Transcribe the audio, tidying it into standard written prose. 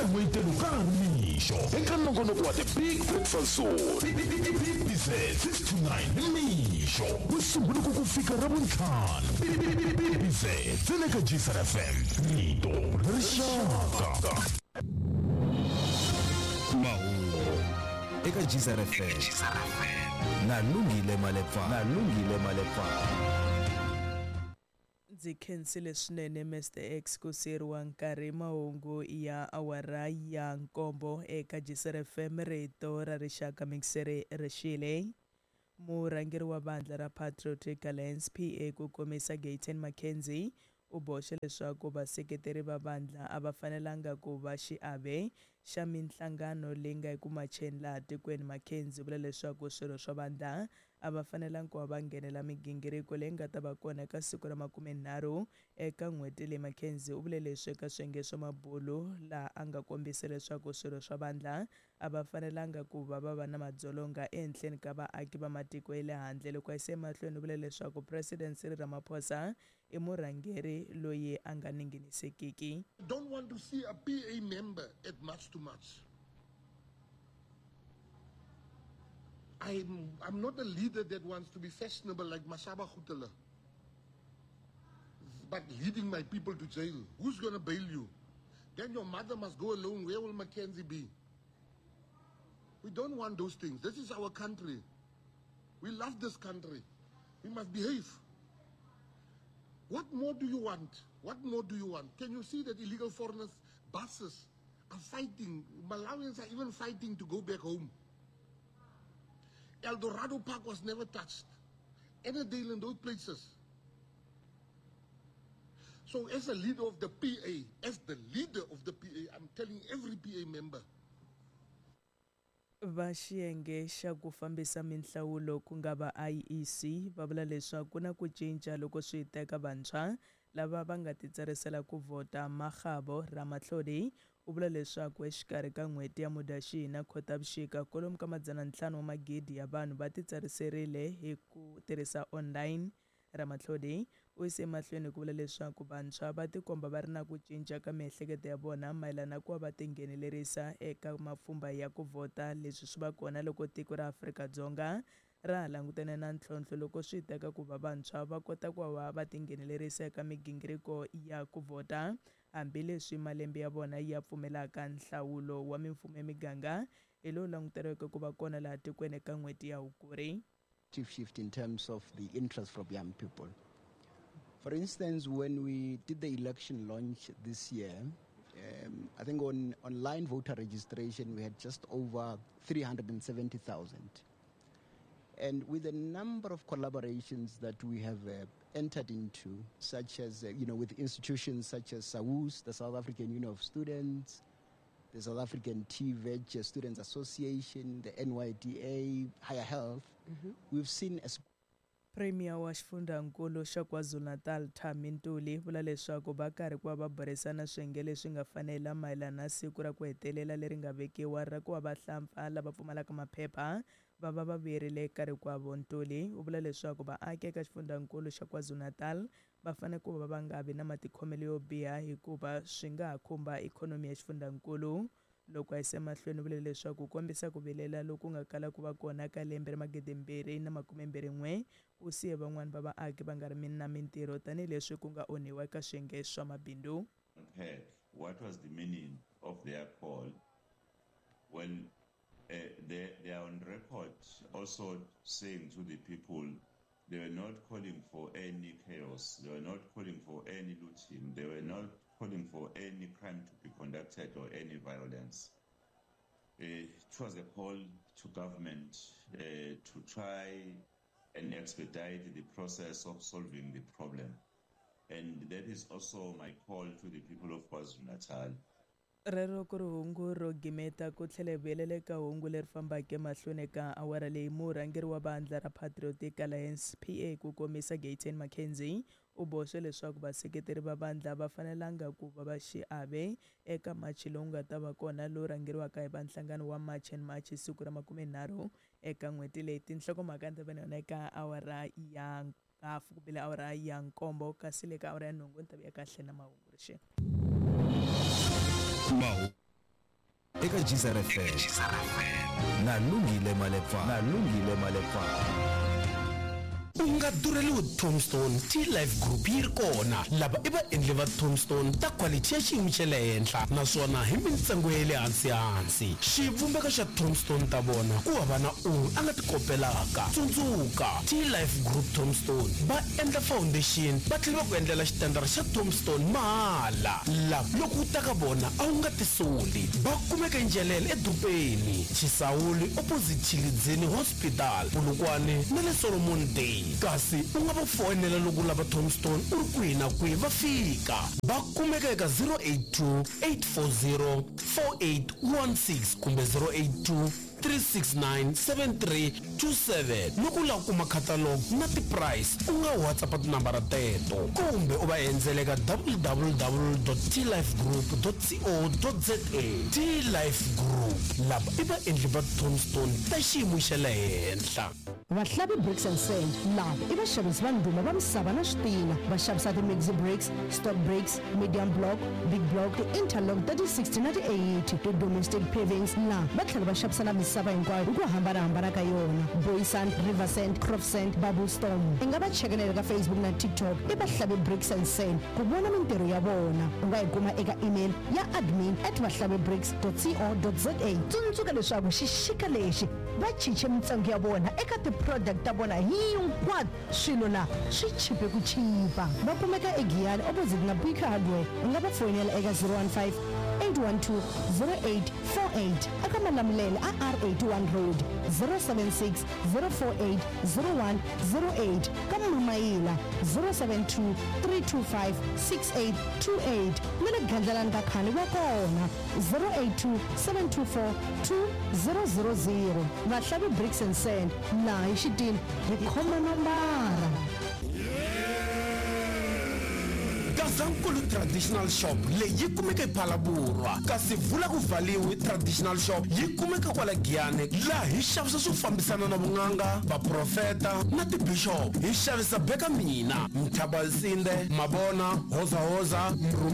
Eka n'wayitelo ka ha ri mixo eka nongonoko wa The Big Breakfast Zone. BBZ 6 to 9 nimixo Musumbhunuku ku fika Ravuntlhanu. BBZ ntsena eka Gcr FM, rito ra rixaka. Mahungu eka Gcr FM na Lungile Malepfana. Na Lungile Malepfana. Ndzi khensile swinene Mister X ku siyeriwa nkarhi mahungu ya awara ya nkombo eka Gcr FM rito ra rixaka mixere rixile. Murhangeri wa vandla ra Patriotic Alliance PA ku komisa Gayton McKenzie u boxe leswaku vaseketeri va vandla a va fanelanga ku va xiave xa minhlangano leyi nga eku macheni laha tikweni. McKenzie u vula leswaku swirho swa vandla a va fanelanga ku va va nghenela migingiriko leyi nga ta va kona eka siku ra 30 eka n'hweti leyi. McKenzie u vule leswi eka swiyenge swa mabulu laha a nga kombisa leswaku swirho swa vandla a va fanelanga ku va va va na madzolonga ehenhleni ka vaaki va matiko ya le handle. Loko a yisa emahlweni u vule leswaku President Cyril Ramaphosa i murhangeri loyi a nga ninginisekiki. I don't want to see a PA member at March to March. I'm not a leader that wants to be fashionable like Mashaba Khutala, but leading my people to jail. Who's going to bail you? Then your mother must go alone. Where will Mackenzie be? We don't want those things. This is our country. We love this country. We must behave. What more do you want? What more do you want? Can you see that illegal foreigners, buses are fighting? Malawians are even fighting to go back home. El Dorado Park was never touched. Ennerdale and those places. So as a leader of the PA, as the leader of the PA, I'm telling every PA member. Va xiyenge xa ku fambisa minhlawulo ku nga va IEC va vula leswaku ku na ku cinca loko swi teka vantshwa lava va nga titsarisela ku vhota. Makgabo Ramatlhodi u vula leswaku exikarhi ka n'hweti ya Mudyaxihi na Khotavuxika kwalomu ka 500 wa magidi ya vanhu va titsariserile hi ku tirhisa online. Ramatlhodi u yise emahlweni ku vula leswaku vantshwa va tikomba va ri na ku cinca ka miehleketo ya vona mayelana na ku va va tinghenelerisa eka mapfhumba ya ku vhota. Leswi swi va kona loko tiko ra Afrika-Dzonga ra ha langutene na ntlhontlho loko swi teka ku va vantshwa va kota ku va va tinghenelerisa eka migingiriko ya ku vhota, hambileswi malembe ya vona ya pfumelaka. Nhlawulo wa mimfumo ya miganga hi lowu languteriweke ku va kona laha tikweni eka n'hweti ya Hukuri. Shift in terms of the interest from young people. For instance, when we did the election launch this year, I think on online voter registration, we had just over 370,000. And with a number of collaborations that we have entered into, such as, with institutions such as SAUS, the South African Union of Students, the South African TVET Students Association, the NYDA, Higher Health, we've seen a Premier wa xifundzankulu xa KwaZulu-Natal Thami Ntuli vula leswaku va karhi ku va va burisana swiyenge leswi nga fanela mayelana na siku ra ku hetelela leri nga vekiwa ra ku va vahlampfa lava pfumalaka maphepha va va va vuyerile eka rikwavo. Ntuli u vula leswaku vaaki eka xifundzankulu xa KwaZulu-Natal va fanele ku va va nga vi na matikhomelo yo biha hikuva swi nga ha khumba ikhonomi ya xifundzankulu. Loko a yisa emahlweni u vule leswaku kombisa ku vilela loku nga kala ku va kona ka lembe ra 2021 ku siye van'wani va vaaki va nga ri na mintirho tanihileswi ku nga onhiwa eka swiyenge swa mabindzu. What was the meaning of their call? Well, they are on record also saying to the people they were not calling for any chaos, they were not calling for any looting, they were not calling for any crime to be conducted or any violence. It was a call to government to try and expedite the process of solving the problem. And that is also my call to the people of KwaZulu-Natal. Rero ku ri hungu ro gimeta ku tlhela hi vuyelela eka hungu leri fambaka emahlweni eka awara leyi. Murhangeri wa vandla ra Patriotic Alliance PA ku komisa Gayton McKenzie u boxe leswaku vaseketeri va vandla va fanelanga ku va va xiave eka machi lowu nga ta va kona lowu rhangeriwaka hi va nhlangano wa March and March siku ra 30 eka n'hweti leyi. Tinhlokomhaka ni ta va na yona eka awara ya hafu ku bile awara ya 7, kasi le ka awara ya 8 ni ta vuya kahle na mahungu rixe. Eka Geyser FM na Lungile Malepa na Lungile Malepa. U nga durheliwi Tombstone T-Life Group yi ri kona. Lava i vaendli va Tombstone ta quality ya xiyimo xa le henhla naswona hi mintsengo ya le hansi-hansi. Xivumbeko xa Tombstone ta vona ku hava na un'we a nga ti kopelaka. Tsundzuka, T-Life Group Tombstone va endla foundation va tlhela va ku endlela xitandara xa Tombstone mahala. Lava loko u ta ka vona a wu nga tisoli. Va kumeka eNjelele edorobeni, Chisawuli opposite Tshilidzini Hospital, Polokwane na le Solomon Day. Kasi u nga va foyinela loko u lava Tombstone u ri kwihi na kwihi va fika. Va kumeka eka 082 840 4816 kumbe 082 369 7327. Loko u lava ku kuma catalog na ti-price u nga WhatsApp tinambara teto kumbe u va endzela eka www.tlifegroup.co.za. T-Life Group, lava i vaendli va Tombstone ta xiyimo xa le henhla. Vahlavi Bricks and Sand lava i vaxavisi va ndhuma va misava na switina. Va xavisa ti-maxi bricks, stock bricks, medium block, big block, ti-interlock ta ti-60 na ti-80, ti-domestic pavings na va tlhela va xavisa na misava hinkwayo hi ku hambana-hambana ka yona, Booysand, River Sand, Crop Sand, Bubble Storm. I nga va chekelela ka Facebook na TikTok i Vahlavi Bricks and Sand ku vona mintirho ya vona. U nga yi kuma eka email ya admin at vahlavibricks dot co dot za. Tsundzuka leswaku xixika lexi Va cince mintsengo ya vona eka ti-product ta vona hinkwato. Swilo la swi chipe ku chipa. Va kumeka eGiyani opposite na Bika Hardware. U nga va foyinela eka 015 812 0848. Eka Malamulele a R81 Road, 076 048 0108. Ka Mamayila, 072 325 6828. Na le Gandlalani ka Khani va kona. 082 724 2000. Vahlavi Bricks and Sand, laha hi xitini hi khoma nambara. Gazankulu Traditional Shop leyi yi kumeka ePhalaborwa, kasi Vula ku Valiwi Traditional Shop yi kumeka kwala Giyani, laha hi xavisa swo fambisana na vun'anga, vaprofeta na tibixop. Hi xavisa beka mina, Mthabalsinde, Mabona, Hozahoza, Mrhumela.